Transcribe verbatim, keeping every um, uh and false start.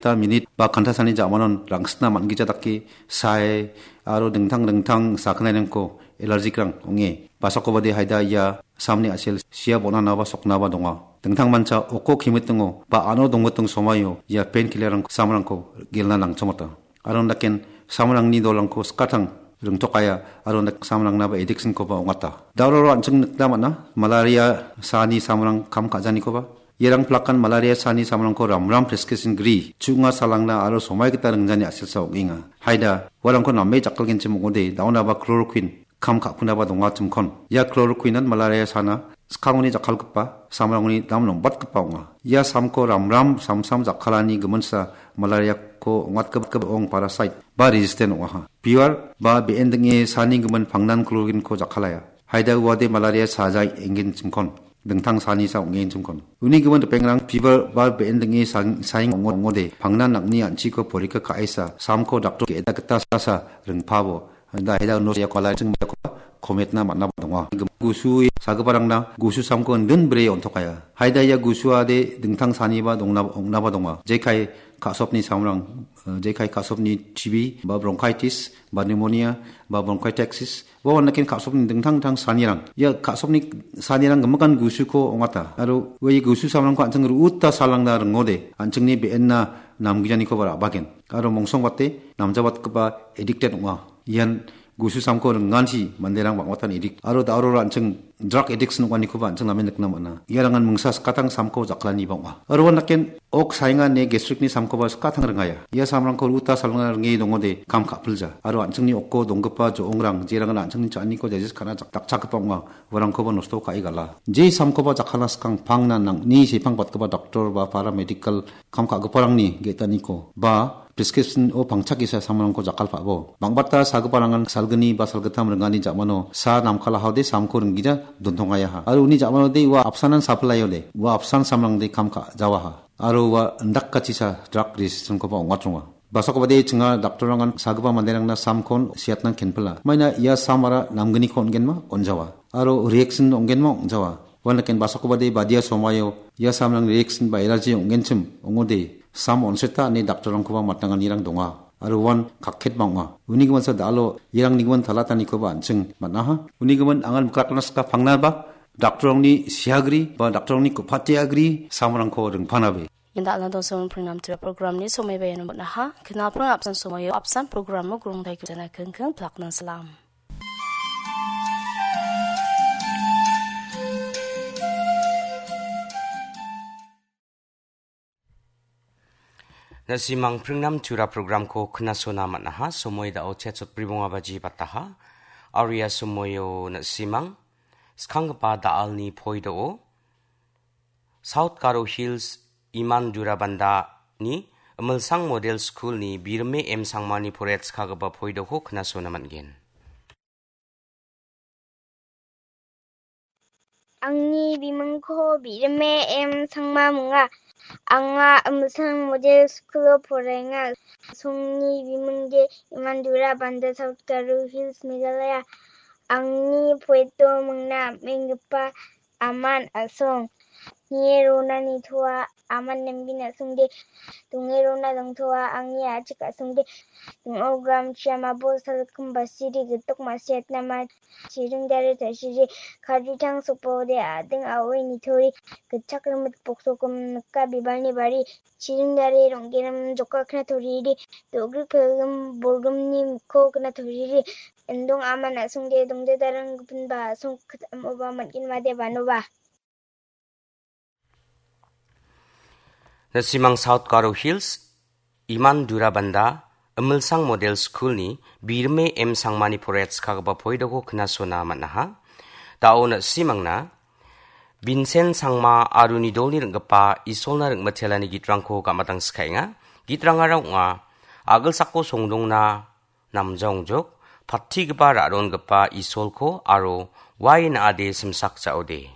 ta minit ba kanta sani ja·manon rangsitna man·gija dake sae aro dingtang dingtang sakgnairangko alergikrang ong·e. Basakobade haida ia samni a·sel sia bon·anaba soknaba donga. Dingtang mancha oko kimitingo ba ano dongmiting somaio ia pen killerrang samrangko gelna nangchongmota. Aro daken samrangni dolrangko skatang ringtokaya aro dak samrangnaba addiction-koba ong·ata. Dauroro an·ching nikna man·a, malaria saani samrang kam ka·janikoba. Iarang plakan malaria saani samrangko ramram prescription gri, chu·nga salangna aro somai gita ringjani a·selsa ong·enga. Haida, uarangko name jakkalgenchim ong·ode, daonaba chloroquine, kam ka·kunaba dongachimkon. Ia chloroquine-an malaria sana skangoni jakkalgipa, samrangoni dam lombatgipa ong·a. Ia samko ramram samsam jakkalani giminsa malaria-ko ong·atgipa ong parasite ba resistant ong·aha. Fever ba be·en ding·e sani gimin pangnan chloroquine-ko jakkalaya. Haida uade malaria sajai enggenchimkon. Dingtang sani sa ong·enchimkon. Uni gimin ripengrang fever ba be·en ding·e sang-, saing ong·o-, ong·ode, pangnan nang·ni an·chiko porika ka·esa, samko daktor ge·eda gita sasa ringpabo. Da hela uno ia kola ching kometna man·a donga. Gusu sagiparangna gusu samko indin bre on·tokaya. Haida ia gusuade dingtang saniba dongna, ong·naba donga. Jekai ka·sopni samrang, eh, jekai ka·sopni T B ba bronchitis ba pneumonia ba bronchiectasis ba wanakin ka·sopni dingtang dingtang sanirang. Ia ka·sopni sanirang gimikan gusuko ong·ata. Aro ua ia gusu samrangko an·ching ru·uta salangna ringode, an·chingni be·enna namgijanikoba ra·bagen. Aro mongsongbate namjabatgipa addicted ong·a. Ian gusu samko ringansi manderang bang·batan addict. Aro da·aro an·ching drug addiction ong·anikoba an·ching namen nikna man·a. Iarangan mingsa skatang samko jaklaniba ong·a. Aro uan daken ok saenga ine gastric-ni samkoba skatang ringaya. Ia samrangko ruta salna ringe dongode kam ka·pilja. Aro an·chingni oko donggipa jo·ongrang, jerangan an·chingni cha·aniko digest ka·na jak-, dakchakgipa ong·a, uarangkoba nosto ka·e gala. Je samkoba jakkalna skang pangna nang·ni sepang batgipa doktor ba paramedical kam ka·giparangni ge·taniko ba prescription-o pangchakisa samrangko jakkalpabo. Bang·bata sagiparangan salgni ba salgittam ringani ja·mano sa namkalahaode samko ringgija dontongayaha. Aro uni ja·manode ua apsanan sapilaiode, ua apsan samrangde kam ka-, jawaha. Aro ua indakachisa drug resistance-koba ong·atronga. Basakobade chinga daktorrangan sagipa manderangna samkon siatna kenpila. Maina ia samara namgniko on·genma on·jawa. Aro reaction ong·genma ong·jawa. Uan daken basakobade badia somaio ia samrang reaction ba allergy ong·genchim ong·ode, sam onseta ine daktorrangkoba matnanganirang donga. Aro uan kakket bang·a. Uni giminsa da·alo iarangni gimin talatanikoba an·ching man·aha. Uni gimin angan mikrakanas ka pangnaba daktorrangni siagri ba daktorrangni ku·pate agri samrangko ringpanabe. Inda alna dongsomin pringnam tira programni somaiba iano man·aha. Kena prang apsan somaio apsan programo grongdai kujana kengkeng plakna salam. Na·simang pringnam tura programko knasona man·aha, somoi da·o chetsot bribonga baji bataha. Aria somoio na·simang skanggipa da·alni poi do·o. South Garo Hills Iman Durabandani Imilsang Model School-ni Birme M Sangmani poraiatskagipa poidoko knasona man·gen. Angni bimingko Birme M Sangma minga. Anga Imilsang Model School-o poraenga. Songni bimingde Iman Durabanda, South Garo Hills, Meghalaya. Angni poeto mingna menggipa aman a·song. Nie rona nitoa, aman nambin a·songde. Donge rona dongtoa, angni a·chik a·songde. Dong·o gram chiamabo salkim basiri gitok masiatna ma chiring dare tasiri. Kadritang sopode ading a·oi nitori. Gitchak rimit boksogim nika bibalni bari. Chiring dare ronggenam jokakna toriri. Do·grik pelgim borgimni mikko gna toriri. Indong aman a·songde dongde darang gipinba a·song kit am·oba man·gin made banoba. Na·simang South Garo Hills, Iman Durabanda, Imilsang Model School-ni Birme M Sangmani poraiatskagipa poidoko knasona man·aha. Da·o na·simangna Binsen Sangma aro nidolni ring·gipa Isolna ring·mitelani gitrangko gamatang skaenga. Gitrangara ong·a, a·gilsako songdongna namjaongjok, pattigipa ra·rongipa Isolko aro wain a·ade simsak ja·ode.